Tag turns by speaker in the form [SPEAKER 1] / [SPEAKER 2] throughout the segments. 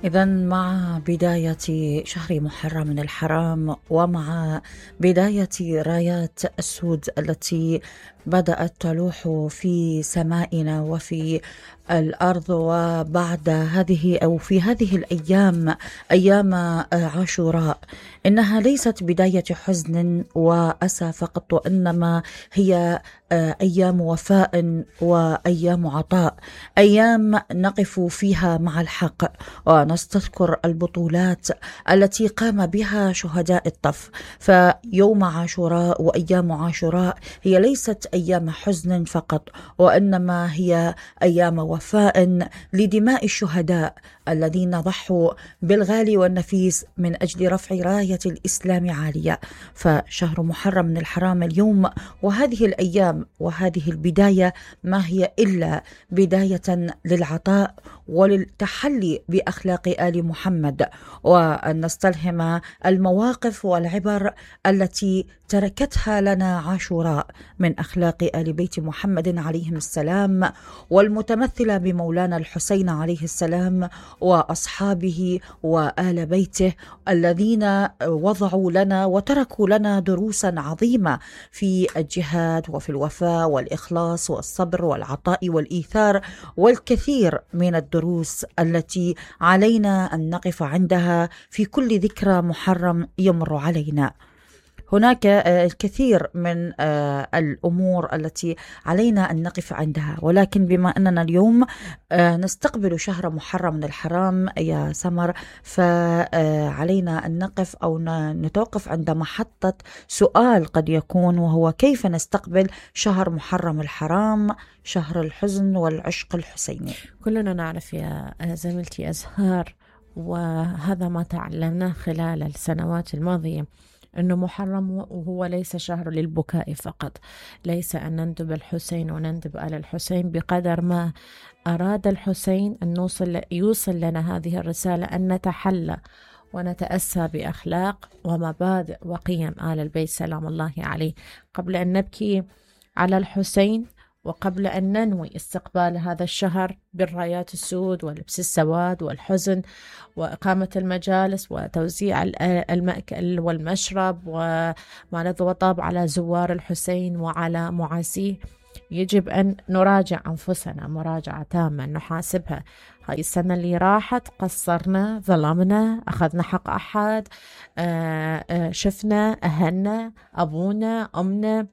[SPEAKER 1] إذن مع بداية شهر محرم من الحرام ومع بداية رايات السود التي بدأت تلوح في سمائنا وفي الأرض، وبعد هذه أو في هذه الأيام أيام عاشوراء إنها ليست بداية حزن وأسى فقط، وإنما هي أيام وفاء وأيام عطاء، أيام نقف فيها مع الحق ونستذكر البطولات التي قام بها شهداء الطف. فيوم عاشوراء وأيام عاشوراء هي ليست أيام حزن فقط، وإنما هي أيام وفاء لدماء الشهداء الذين ضحوا بالغالي والنفيس من أجل رفع راية الإسلام عالية. فشهر محرم من الحرام اليوم وهذه الأيام وهذه البداية ما هي إلا بداية للعطاء وللتحلي بأخلاق آل محمد، وأن نستلهم المواقف والعبر التي تركتها لنا عاشوراء من أخلاق آل بيت محمد عليهم السلام، والمتمثلة بمولانا الحسين عليه السلام وأصحابه وآل بيته الذين وضعوا لنا وتركوا لنا دروسا عظيمة في الجهاد وفي الوفاء والإخلاص والصبر والعطاء والإيثار، والكثير من الدروس التي علينا أن نقف عندها في كل ذكرى محرم يمر علينا. هناك الكثير من الأمور التي علينا أن نقف عندها، ولكن بما أننا اليوم نستقبل شهر محرم من الحرام يا سمر، فعلينا أن نقف أو نتوقف عند محطة سؤال قد يكون، وهو كيف نستقبل شهر محرم الحرام، شهر الحزن والعشق الحسيني.
[SPEAKER 2] كلنا نعرف يا زميلتي أزهار، وهذا ما تعلمناه خلال السنوات الماضية، أنه محرم وهو ليس شهر للبكاء فقط، ليس أن نندب الحسين ونندب آل الحسين، بقدر ما أراد الحسين أن يوصل لنا هذه الرسالة، أن نتحلى ونتأسى بأخلاق ومبادئ وقيم آل البيت سلام الله عليه، قبل أن نبكي على الحسين وقبل أن ننوي استقبال هذا الشهر بالرايات السود ولبس السواد والحزن وإقامة المجالس وتوزيع المأكل والمشرب وما لذ وطاب على زوار الحسين وعلى معازيه. يجب أن نراجع أنفسنا مراجعة تامة، نحاسبها. هاي السنة اللي راحت قصرنا، ظلمنا، أخذنا حق أحد، شفنا أهلنا، أبونا، أمنا،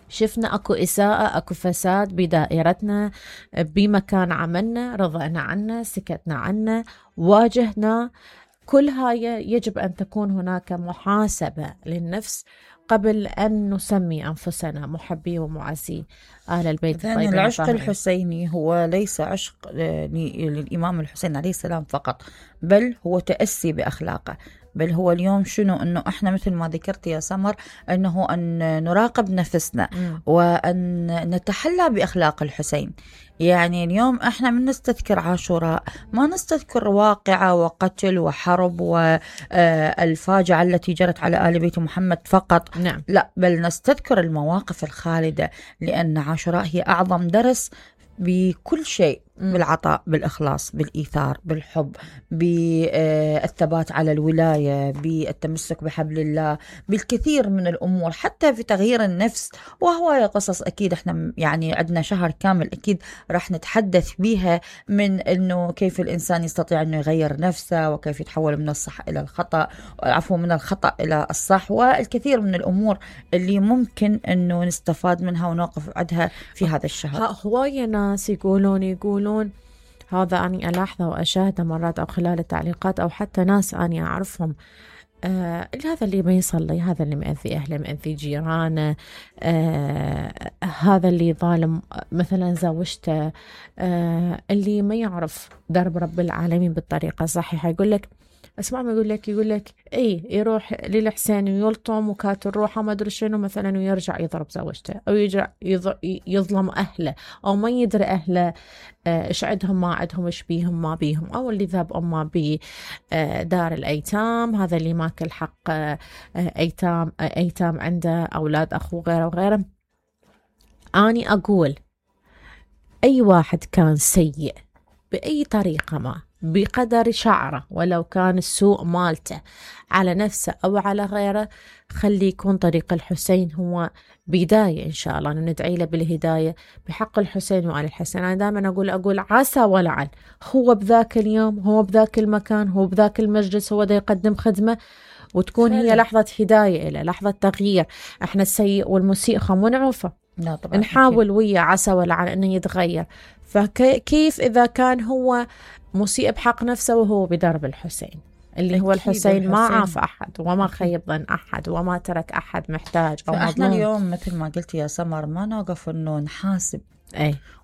[SPEAKER 2] شفنا أكو إساءة، أكو فساد بدائرتنا، بمكان عملنا، رضعنا عنه، سكتنا عنه، واجهنا. كل هاي يجب أن تكون هناك محاسبة للنفس قبل أن نسمي أنفسنا محبي ومعزي آل البيت.
[SPEAKER 1] العشق الحسيني هو ليس عشق للإمام الحسين عليه السلام فقط، بل هو تأسي بأخلاقه، بل هو اليوم شنو؟ أنه إحنا مثل ما ذكرت يا سمر، أنه أن نراقب نفسنا وأن نتحلى بأخلاق الحسين. يعني اليوم إحنا من نستذكر عاشوراء ما نستذكر واقعة وقتل وحرب والفاجعة التي جرت على آل بيت محمد فقط،
[SPEAKER 2] نعم.
[SPEAKER 1] لا، بل نستذكر المواقف الخالدة، لأن عاشوراء هي أعظم درس بكل شيء، بالعطاء، بالإخلاص، بالإيثار، بالحب، بالثبات على الولاية، بالتمسك بحبل الله، بالكثير من الأمور، حتى في تغيير النفس. وهو قصص أكيد إحنا يعني عندنا شهر كامل أكيد راح نتحدث بيها، من إنه كيف الإنسان يستطيع إنه يغير نفسه، وكيف يتحول من الصح إلى الخطأ، عفوا من الخطأ إلى الصح، والكثير من الأمور اللي ممكن إنه نستفاد منها ونوقف عندها في هذا الشهر.
[SPEAKER 2] هواية ناس يقولون هذا أني ألاحظه وأشاهده مرات أو خلال التعليقات، أو حتى ناس أني أعرفهم، هذا اللي ما يصلي، هذا اللي مأذي أهله، مأذي جيرانه، هذا اللي ظالم مثلا زوجته، اللي ما يعرف درب رب العالمين بالطريقة الصحيحة. يقول لك اسمع ما يقول لك اي يروح للحسين ويلطم وكات الروحه ما ادري شنو مثلا ويرجع يضرب زوجته او يرجع يظلم اهله او ما يدري اهله ايش عندهم ما عندهم ايش بيهم ما بيهم او اللي ذاب امه بدار الايتام هذا اللي ماكل حق ايتام عنده اولاد اخوه غيره وغيره. اني اقول اي واحد كان سيء باي طريقه ما بقدر شعره ولو كان السوء مالته على نفسه أو على غيره خلي يكون طريق الحسين هو بداية إن شاء الله ندعي له بالهداية بحق الحسين وآل الحسين. أنا دائما أقول عسى ولعل هو بذاك اليوم هو بذاك المكان هو بذاك المجلس هو دا يقدم خدمة وتكون هي لحظة هداية إلى لحظة تغيير. احنا السيء والمسيء خمو نعرفه نحاول ويا عسى ولعل أنه يتغير. فكيف إذا كان هو مسيء بحق نفسه وهو بدرب الحسين اللي هو الحسين ما عاف أحد وما خيب ظن أحد وما ترك أحد محتاج أو مظلوم.
[SPEAKER 1] فإحنا اليوم مثل ما قلت يا سمر ما نوقف إنه نحاسب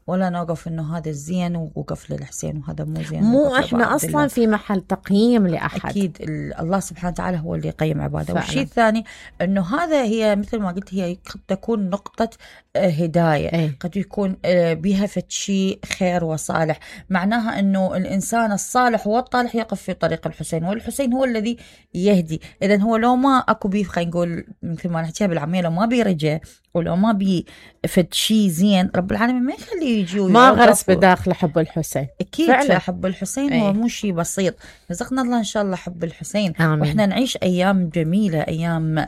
[SPEAKER 1] ولا نوقف إنه هذا الزين ووقف للحسين وهذا مو زين.
[SPEAKER 2] مو إحنا أصلا في محل تقييم لأحد.
[SPEAKER 1] أكيد الله سبحانه وتعالى هو اللي يقيم عباده. والشيء الثاني إنه هذا هي مثل ما قلت هي قد تكون نقطة هداية قد يكون بها شيء خير وصالح. معناها إنه الإنسان الصالح والطالح يقف في طريق الحسين والحسين هو الذي يهدي. إذن هو لو ما أكو بيه خلينا نقول مثل ما نحكيها بالعامية لو ما بيرجع ولو ما بيفد شيء زين رب العالمين ما يخليه يجي
[SPEAKER 2] ما غرس بداخل حب الحسين.
[SPEAKER 1] أكيد فعلا. حب الحسين هو مو شيء بسيط. رزقنا الله إن شاء الله حب الحسين. آمين. وإحنا نعيش أيام جميلة أيام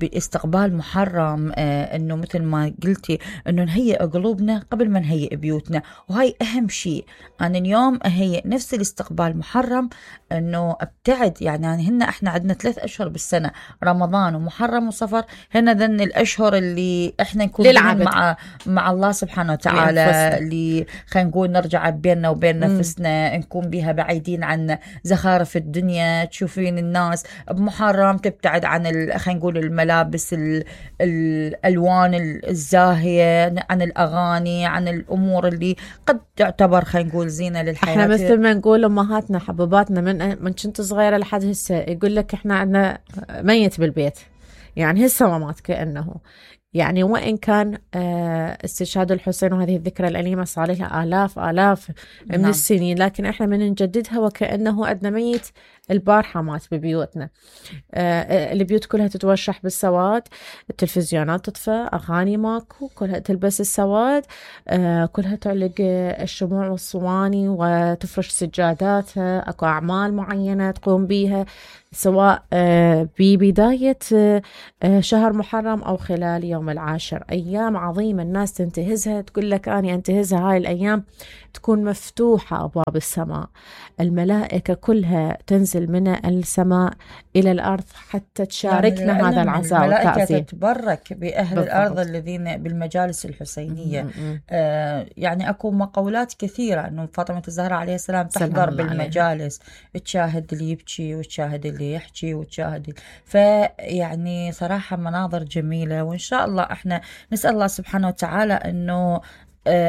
[SPEAKER 1] استقبال محرم إنه مثل ما قلتي إنه نهيئ قلوبنا قبل ما نهيئ بيوتنا وهاي أهم شيء. أنا اليوم أهيئ نفس الاستقبال محرم إنه ابتعد يعني هن إحنا عندنا 3 أشهر بالسنة رمضان ومحرم وصفر هن ذن الأشهر اللي إحنا نكون مع الله سبحانه وتعالى اللي خلينا نقول نرجع بيننا وبين نفسنا نكون بها بعيدين عن زخارف الدنيا. تشوفين الناس بمحرم تبتعد عن خلينا نقول الملابس الألوان الزاهية عن الأغاني عن الأمور اللي قد تعتبر خلينا نقول زينة للحياة.
[SPEAKER 2] احنا مثل ما نقول أمهاتنا حبوباتنا من كنت صغيرة لحد هسه يقول لك احنا عندنا ميت بالبيت يعني هسه ما مات كأنه يعني وإن كان استشهاد الحسين وهذه الذكرى الأليمة صار لها آلاف من السنين لكن إحنا من نجددها وكأنه عندنا ميت البارحة مات ببيوتنا. البيوت كلها تتوشح بالسواد التلفزيونات تطفى أغاني ماكو كلها تلبس السواد كلها تعلق الشموع والصواني وتفرش سجاداتها أكو أعمال معينة تقوم بيها سواء ببداية شهر محرم أو خلال يوم العاشر. أيام عظيمة الناس تنتهزها تقول لك أنا أنتهزها. هاي الأيام تكون مفتوحة أبواب السماء الملائكة كلها تنزل من السماء إلى الأرض حتى تشاركنا يعني هذا العزاء والتعزية.
[SPEAKER 1] الملائكة تتبرك بأهل الأرض الذين بالمجالس الحسينية. يعني أكو مقولات كثيرة أنه فاطمة الزهراء عليه السلام تحضر بالمجالس تشاهد اللي يبكي وتشاهد اللي يحكي وتشاهد فيعني صراحة مناظر جميلة. وإن شاء الله إحنا نسأل الله سبحانه وتعالى أنه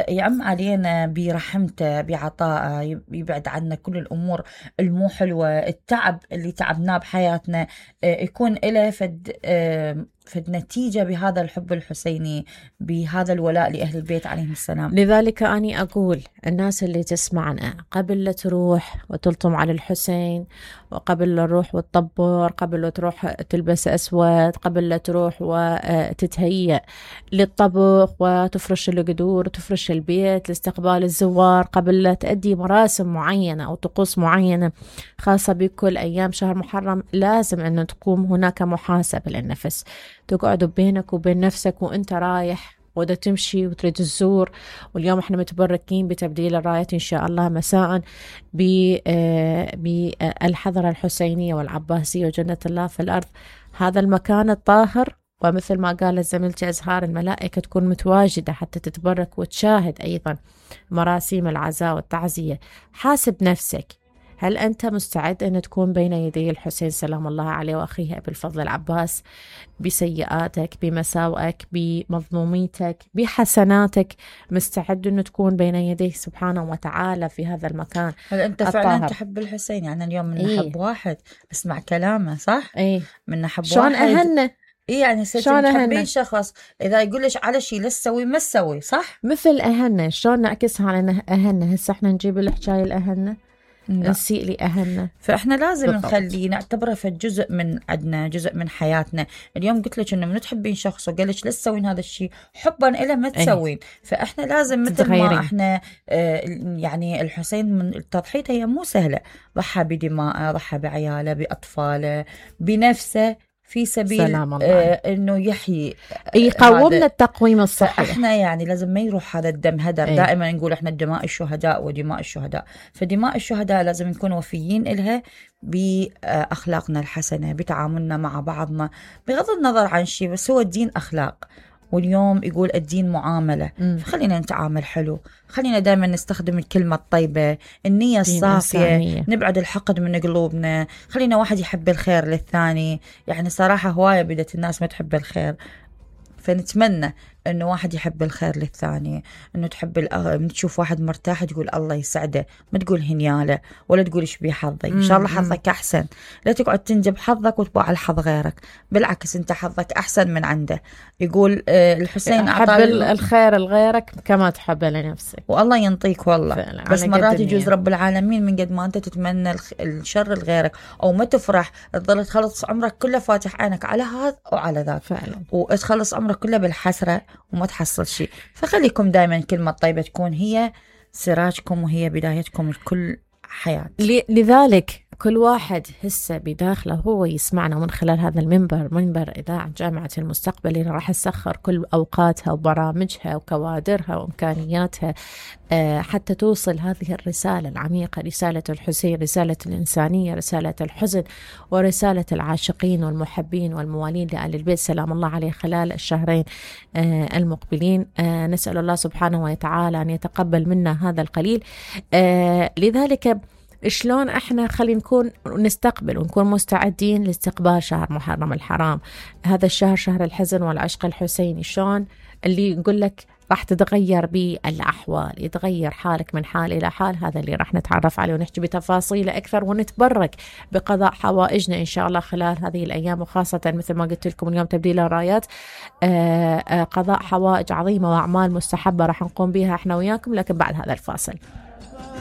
[SPEAKER 1] يعم علينا برحمته بعطائه يبعد عنا كل الأمور المو حلوة التعب اللي تعبناه بحياتنا يكون إله فد نتيجة بهذا الحب الحسيني بهذا الولاء لأهل البيت عليهم السلام.
[SPEAKER 2] لذلك أنا أقول الناس اللي تسمعنا قبل لا تروح وتلطم على الحسين وقبل لا تروح وتطبر قبل لا تروح تلبس أسود قبل لا تروح وتتهيأ للطبخ وتفرش القدور وتفرش البيت لاستقبال الزوار قبل لا تأدي مراسم معينة أو طقوس معينة خاصة بكل أيام شهر محرم لازم أن تقوم هناك محاسبة للنفس. تقعد بينك وبين نفسك وانت رايح ودا تمشي وتريد الزور. واليوم احنا متبركين بتبديل الرايات ان شاء الله مساء بالحضرة الحسينية والعباسية وجنة الله في الأرض هذا المكان الطاهر. ومثل ما قالت زميلتي أزهار الملائكة تكون متواجدة حتى تتبرك وتشاهد أيضا مراسيم العزاء والتعزية. حاسب نفسك هل أنت مستعد أن تكون بين يدي الحسين سلام الله عليه وأخيه أبي الفضل العباس بسيئاتك، بمساوئك، بمظلوميتك، بحسناتك، مستعد أن تكون بين يديه سبحانه وتعالى في هذا المكان؟
[SPEAKER 1] هل أنت فعلا تحب الحسين؟ يعني اليوم من نحب واحد اسمع كلامه صح؟ من نحب
[SPEAKER 2] شلون
[SPEAKER 1] واحد
[SPEAKER 2] أهنه؟
[SPEAKER 1] يعني تحبين شخص إذا يقولش على شيء لا تسوي ما تسوي صح؟
[SPEAKER 2] مثل أهنه، شلون نعكسها على أهنه؟ هسه احنا نجيب الحكاية الأهنه نسيء لي أهلنا،
[SPEAKER 1] فإحنا لازم نخليه نعتبره في جزء من عدنا، جزء من حياتنا. اليوم قلت لك إنه من تحبين شخص وقال لك لا تسوين هذا الشيء حبا إله ما تسوين. فإحنا لازم مثل ما إحنا يعني الحسين من تضحيته هي مو سهلة، ضحى بدماءه، ضحى بعياله، بأطفاله، بنفسه في سبيل انه يحيي
[SPEAKER 2] يقومنا التقويم الصحي.
[SPEAKER 1] احنا يعني لازم ما يروح هذا الدم هدر. دائما نقول احنا دماء الشهداء ودماء الشهداء، فدماء الشهداء لازم نكون وفيين إلها بأخلاقنا الحسنة، بتعاملنا مع بعضنا بغض النظر عن شيء، بس هو الدين أخلاق، واليوم يقول الدين معاملة. فخلينا نتعامل حلو، خلينا دائما نستخدم الكلمة الطيبة، النية الصافية، نبعد الحقد من قلوبنا، خلينا واحد يحب الخير للثاني. يعني صراحة هواية بدت الناس ما تحب الخير، فنتمنى انه واحد يحب الخير للثاني، انه تحب تشوف واحد مرتاح تقول الله يسعده، ما تقول هنياله ولا تقول ايش بيه حظي، ان شاء الله حظك احسن، لا تقعد تنجب حظك وتبوع على حظ غيرك، بالعكس انت حظك احسن من عنده. يقول الحسين
[SPEAKER 2] حب الخير لغيرك كما تحب لنفسك،
[SPEAKER 1] والله ينطيك والله. بس مرات يجوز رب العالمين من قد ما انت تتمنى الشر لغيرك او ما تفرح، تظل تخلص عمرك كله فاتح عينك على هذا وعلى ذاك، وتخلص عمرك كله بالحسرة وما تحصل شيء. فخليكم دائما كلمة طيبة تكون هي سراجكم وهي بدايتكم لكل حياة.
[SPEAKER 2] لذلك كل واحد هسه بداخله هو يسمعنا من خلال هذا المنبر، منبر إذاعة جامعة المستقبل، اللي راح تسخر كل أوقاتها وبرامجها وكوادرها وإمكانياتها حتى توصل هذه الرسالة العميقة، رسالة الحسين، رسالة الإنسانية، رسالة الحزن، ورسالة العاشقين والمحبين والموالين لآل البيت سلام الله عليه خلال الشهرين المقبلين. نسأل الله سبحانه وتعالى أن يتقبل منا هذا القليل. لذلك شلون احنا خلينا نكون نستقبل ونكون مستعدين لاستقبال شهر محرم الحرام، هذا الشهر شهر الحزن والعشق الحسيني. شلون اللي يقول لك راح تتغير بالأحوال، يتغير حالك من حال إلى حال، هذا اللي راح نتعرف عليه ونحكي بتفاصيله أكثر، ونتبرك بقضاء حوائجنا إن شاء الله خلال هذه الأيام، وخاصة مثل ما قلت لكم اليوم تبديل الرايات، قضاء حوائج عظيمة وأعمال مستحبة راح نقوم بها احنا وياكم، لكن بعد هذا الفاصل.